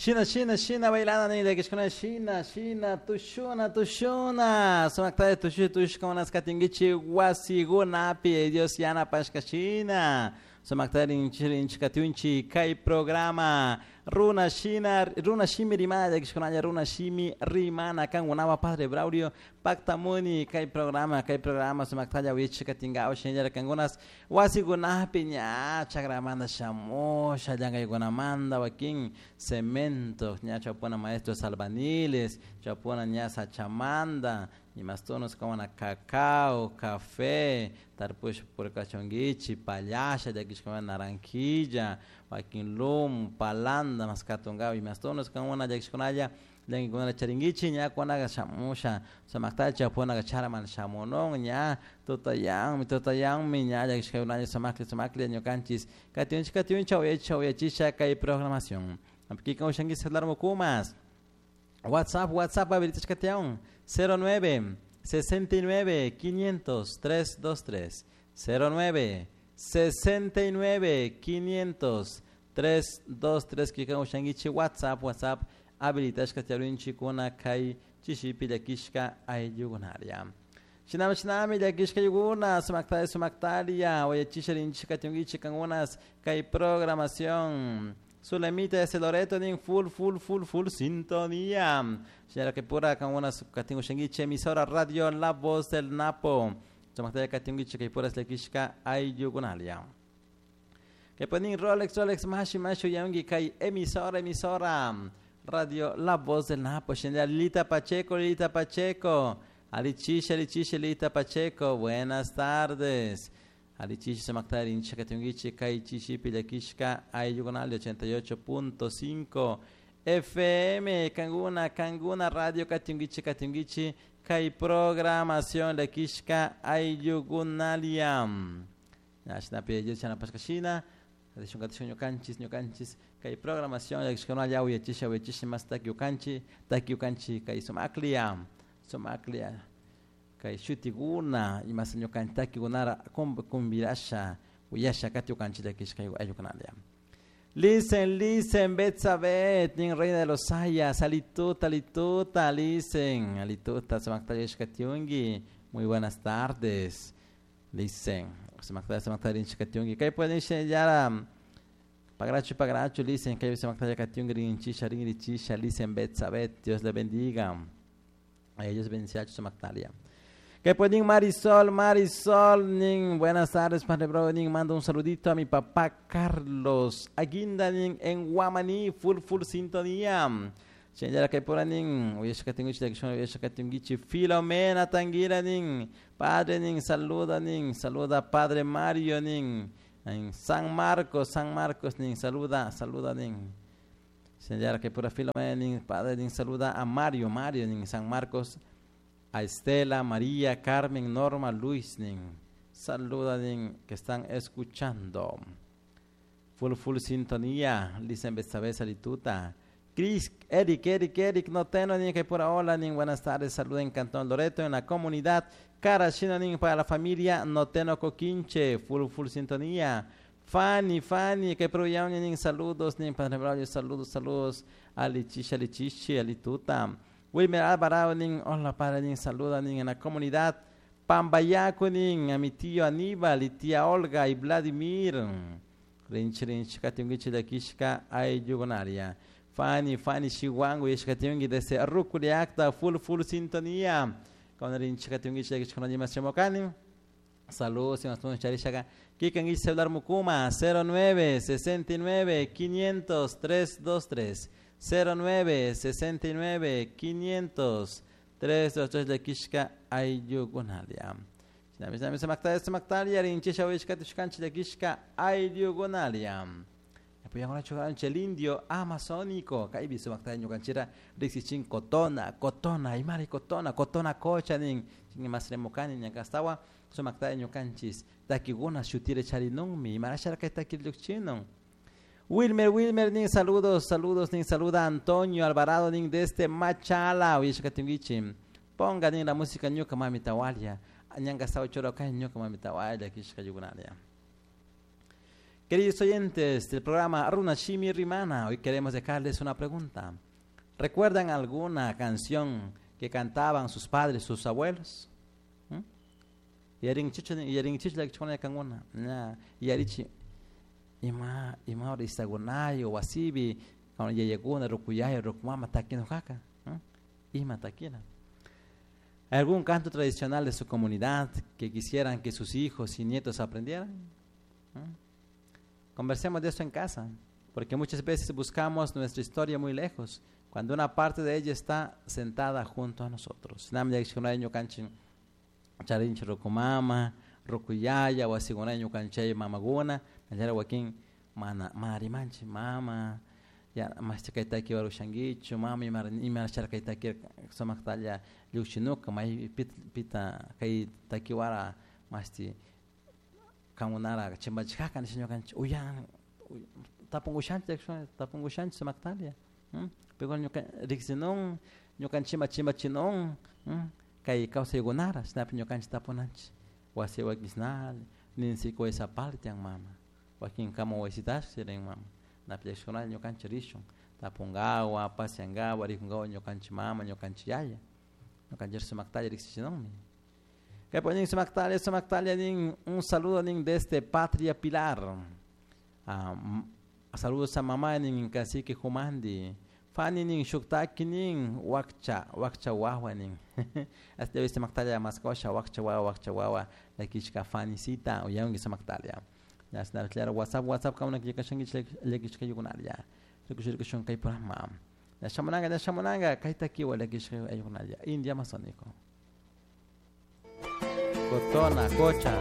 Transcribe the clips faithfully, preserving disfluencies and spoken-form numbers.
Shina, shina, shina, bailana nin llakishkuna, shina, shina, tushuna, tushuna. Sumakta tushu, tushkunas katinkichi wasikunapi, Dios yanapashka shina. Sumakta rinchi, rinchi katunchi, kay programa. Runa shina, runa shimi rimana, llakishkunalla, runa shimi rimana, kankunawa Padre Braulio, paktamuni, kay programa, kay programa, sumaktalla wichi katingaw, shinallara kankunas, wasikunapi ña, chakramanta shamusha, llankaykunamanta, wakin cemento, ña chawpuna maestros albañiles, chawpuna ña sachamanta, imastunos como cacao, café, tarpush purkachunkichi, pallasha, llakishkuna naranjilla, wakin lumo, palanda, maskatungaw, imastunos kankuna llakishkunalla, llankaykunata charinkichik, ña kunaga shamusha, sumakta chawpuna charaman shamunun, ña tutayanmi, tutayanmi, ña llakishkakunalla sumakli, sumakli ñukanchis, katiunchik, katiunchik, uyachisha, uyachisha kay programación. Kikin ushanki celular mukumas. WhatsApp, WhatsApp, habilitashka tiyan, cero nueve, sesenta y nueve, quinientos, tres dos tres, cero nueve, sesenta y nueve, quinientos, tres dos tres, kikin ushankichik WhatsApp, WhatsApp, habilitashka tiyarinchikuna kay chishipi llakishka ayllukunaria. Shinami, shinami, llakishka ayllukununa, sumaktaria, sumaktaria, uyachisha rinchik katunkichik kankunas kay programación. Zulemita de Loreto nin full, full, full, full sintonía. Señora que pura kankunas katingu shangiche, emisora radio La Voz del Napo. Sumaktaria katunkichik kay pura llakishka ayllukunaria. Que ponen Rolex, Rolex, mashi, mashi, uyangi kay emisora, emisora Radio La Voz del Napo. Señora Lilita Pacheco, Lilita Pacheco. Alichisha, Alichisha, Lilita Pacheco. Buenas tardes. Alichisha, Samaktari, Incha, Katungichi, Kai, Chishi, Pilakishka, Ayugonal, ochenta y ocho punto cinco F M, Kanguna, Kanguna, Radio, Katungichi, Katungichi, Kai, programación, Lakishka, Ayugonaliam. Ashna, Pia, Chana, Pascashina, Adishun, Katishun, Ñukanchis, Ñukanchis, Kai, programación, Lakishka, Uyachisha, Uyachisha, más Takiukanchi, Takiukanchi, Kai, Sumaklia, Sumaklia. Kay shutiguna, imas ñukantakikunara kumbirasha, uyasha katiukanchi llakishka ayukunalia. Listen, listen, Betsabet, nin reina de los sayas, alituta, alituta, listen, alituta, sumaktayashka tiungi, muy buenas tardes, listen, sumaktaya, sumaktaya, rinchika tiungi, kay pueden yara, pagracho, pagracho, listen, kay sumaktaya katiungi, rinchisha, rinrichisha, listen, Betsabet, Dios le bendiga, a ellos bendiga, sumaktalia. Que pueden Marisol, Marisol, nin, buenas tardes, Padre Bro, nin, mando un saludito a mi papá Carlos Aguinda, nin, en Guamaní, full, full sintonía. Señora que por nin, Filomena Tanguira, nin, padre, nin, saluda, nin, saluda Padre Mario, nin, en San Marcos, San Marcos, nin, saluda, saluda, nin. Señora que por Filomena, nin, padre, nin, saluda a Mario, Mario, nin, San Marcos. A Estela, María, Carmen, Norma, Luis, nin, saluda, nin, que están escuchando. Full, full sintonía, dicen Betsabé, Salituta. Cris, Eric, Eric, Eric, no tengo ni que por ahora, nin, buenas tardes, saluda en Cantón Loreto, en la comunidad Carachina, nin, para la familia Noteno Coquinche, full, full sintonía. Fanny, Fanny, que por allá, nin, saludos, nin, Padre Braulio, saludos, saludos, Alichisha, Alichichi, Alituta. Wilmer Alvarado, nin, hola padre, nin, saluda, nin, en la comunidad Pambayaco, nin, a mi tío Aníbal y tía Olga y Vladimir. Rinchi, rinchi, katiungichi, lakishka, ayugonaria. Fanny, Fanny, Chihuango, y shkatiungi desde Ruculiacta, full, full sintonía. Con rinchi, katiungichi, lakishka, no yimas chemocani. Saludos, y nos ponemos charishaga. Kikan y celular mukuma, cero nueve, sesenta y nueve, quinientos, tres, dos, tres. cero nueve, sesenta y nueve, quinientos, tres, dos, tres, de Kishka, Ayugonalia. Shinami, shinami, semaktaria, semaktaria, rinchisha, wishka, tushkanchi, de Kishka, Ayugonalia. Apoyamos a chocar el indio amazónico. Kaibi, semaktaria, ñukanchira, rixichin, cotona, cotona, imari, cotona, cotona, cocha, nin, chin, masremocani, ñancastawa, semaktaria, ñukanchis, takiguna, shutire, charinunmi, imarashara, que takirluchinon. Wilmer, Wilmer, nin, saludos, saludos, nin, saluda Antonio Alvarado, nin, desde Machala, uyeshkatingichi. Ponga, nin, la música ñuka mami tawalia. Ñanga sao choro kai ñuka mami tawalia, kishka yugunalia. Queridos oyentes del programa Runa Shimi Rimana, hoy queremos dejarles una pregunta. ¿Recuerdan alguna canción que cantaban sus padres, sus abuelos? ¿Mm? Ima ima istagunayo wasibi yayakuna rukuyaya rukumama takinujaka ima takina. ¿Hay algún canto tradicional de su comunidad que quisieran que sus hijos y nietos aprendieran? ¿Mm? Conversemos de esto en casa, porque muchas veces buscamos nuestra historia muy lejos, cuando una parte de ella está sentada junto a nosotros. Charinchi rukumama, rukuyaya, wasiguna ñukanchay mamaguna, nallara wakin mana mana rimanchi mama, ya mas kay taki warushankichu, mama ima ima kay taki sumaqtalla llukshinuka may pit pita kay takiwara masti kangunara chimbachikaka nisha ñukanchik uyan tapunkushanchik tapunkushanchik sumaqtalla, pero ñuka riksinun ñukanchikma chimbachinun kay kawsaykunara shinapi ñukanchik tapunanchik wasi wakisnal ninsi waysapartian mama wakin kama wasitash rin mama napi llakishkunalla ñukanchik rishun tapunkawa pasiankawa rikunkawa ñukanchik mama ñukanchik yaya ñukanchik sumaktalla riksichinunmi. Kaypi nin sumaktalla sumaktalla nin un saludo nin desde Patria Pilar. Um, saludos a mamá nin cacique Jumandi. Fani nin shuktaki nin wakcha wakcha wawa nin. Hasta viste sumaktalla maskosha wakcha wawa wakcha wawa lakishka fanicita uyangi sumaktalla. Ya claro WhatsApp WhatsApp kamuna kikashangi lakishka yukunalla. Rikushirikushun kay programa. Ya shamunanga ya shamunanga kay takiwa lakishka ayukunalla. India amazónico. Cotona cocha.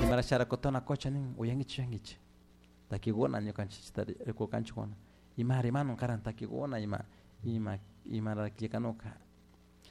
Imarashara cotona cocha nin uyangichi uyangichi. Takiguna ñukanchik rikukanchikuna. Ima rimanun karan takiguna ima ima ima rakllikanuka